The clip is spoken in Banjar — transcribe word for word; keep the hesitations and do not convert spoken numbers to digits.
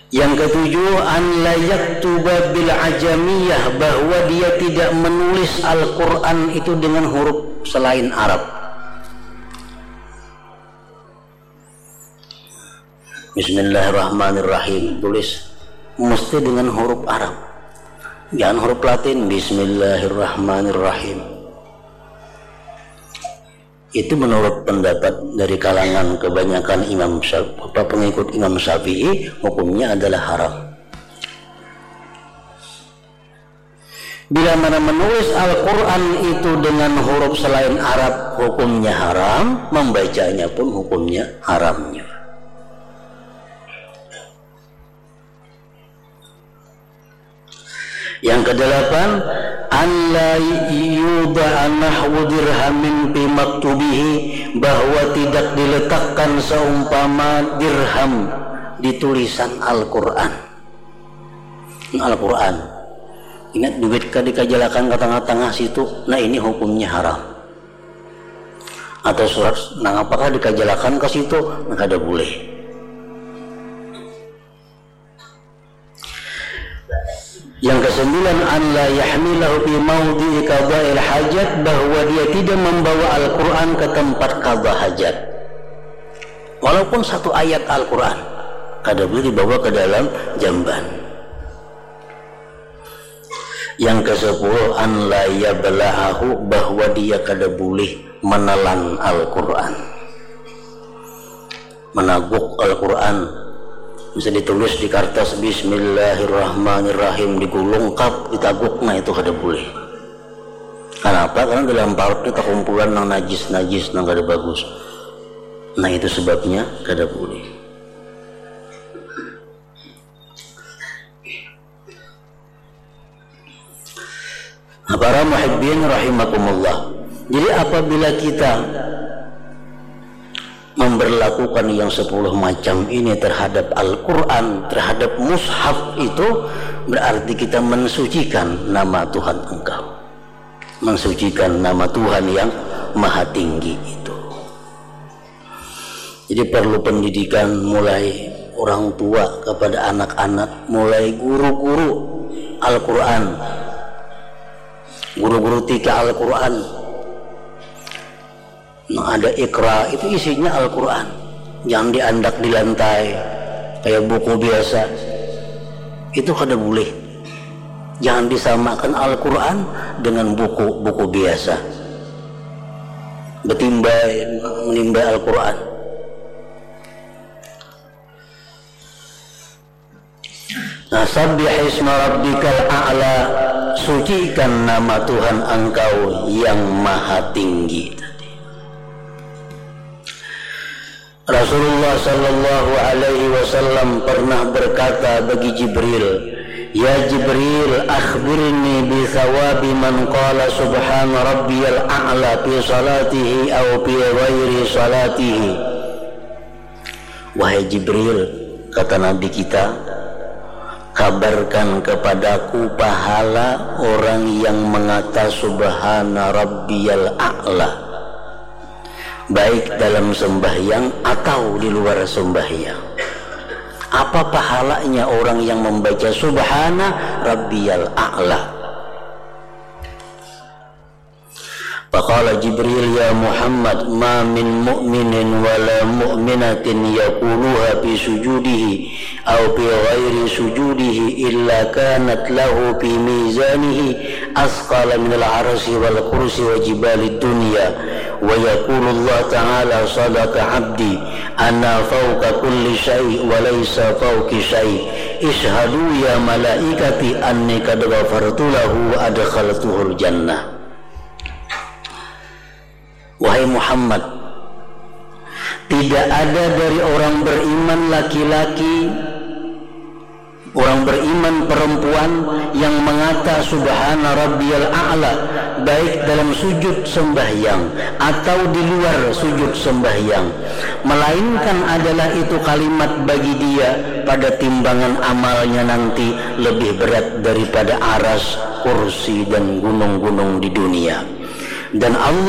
Yang ketujuh, an la yaktuba bil ajamiyah, bahwa dia tidak menulis Al-Quran itu dengan huruf selain Arab. Bismillahirrahmanirrahim, tulis mesti dengan huruf Arab, jangan huruf Latin. Bismillahirrahmanirrahim. Itu menurut pendapat dari kalangan kebanyakan Imam Syafi'i, pengikut Imam Syafi'i, hukumnya adalah haram. Bila mana menulis Al-Quran itu dengan huruf selain Arab, hukumnya haram, membacanya pun hukumnya haram juga. Yang kedelapan, an la yuda'a nahwu dirhamin fi maktubihi, bahwa tidak diletakkan seumpama dirham di tulisan Al-Quran. Al-Quran. Ingat, duit ka dikajalakan ka tangah-tangah situ, nah, ini hukumnya haram. Atau surat nang apakah dikajalakan ka situ, nah, kada boleh. Yang kesembilan, an la yahmilahu fi maudhi'i qada'il hajat, bahwa dia tidak membawa Al-Quran ke tempat qada hajat. Walaupun satu ayat Al-Quran, kada boleh dibawa ke dalam jamban. Yang kesepuluh, an la yabla'ahu, bahwa dia kada boleh menelan Al-Quran. Menaguk Al-Quran, bisa ditulis di kertas Bismillahirrahmanirrahim, digulung, kap, ditaguk, nah, itu kada boleh. Kenapa? Karena dalam parut kita kumpulan nang najis-najis, nang kada bagus. Nah, itu sebabnya kada boleh. Nah, para muhibbin rahimakumullah. Jadi, apabila kita memberlakukan yang sepuluh macam ini terhadap Al-Quran, terhadap mushaf itu, berarti kita mensucikan nama Tuhan engkau. Mensucikan nama Tuhan yang maha tinggi itu. Jadi, perlu pendidikan mulai orang tua kepada anak-anak, mulai guru-guru Al-Quran, guru-guru tika Al-Quran. Nah, ada Iqra, itu isinya Al-Quran. Jangan diandak di lantai kayak buku biasa. Itu kada boleh. Jangan disamakan Al-Quran dengan buku-buku biasa. Betimbai, menimbai Al-Quran. Nah, sabbih isma rabbikal a'la, sucikan nama Tuhan engkau yang maha tinggi tadi. Rasulullah sallallahu alaihi wasallam pernah berkata bagi Jibril, "Ya Jibril, akhbirni bi thawabi man qala subhana rabbiyal a'la fi salatihi au fi ghairi salatihi." Wahai Jibril, kata Nabi kita, kabarkan kepadaku pahala orang yang mengata subhana rabbiyal a'la, baik dalam sembahyang atau di luar sembahyang. Apa pahalanya orang yang membaca subhana rabbiyal a'la? Faqala Jibril, "Ya Muhammad, ma min mu'minin wala mu'minatin yaquluha fi sujudihi au fi ghairi sujudihi illa kanat lahu fi mizanihi asqala minal arsi wal kursi wa jibalid dunya." Wa yaqulu Allah Ta'ala, "Sadaqa abdi, ana fauqa kulli syai' wa laisa fauqi syai'. Ishhadu ya malaikati anni qad ghafartu lahu wa adkhaltuhul jannah." Wahai Muhammad, tidak ada dari orang beriman laki-laki, orang beriman perempuan yang mengata subhana rabbiyal a'la, baik dalam sujud sembahyang atau di luar sujud sembahyang, melainkan adalah itu kalimat bagi dia pada timbangan amalnya nanti lebih berat daripada aras, kursi, dan gunung-gunung di dunia. Dan Allah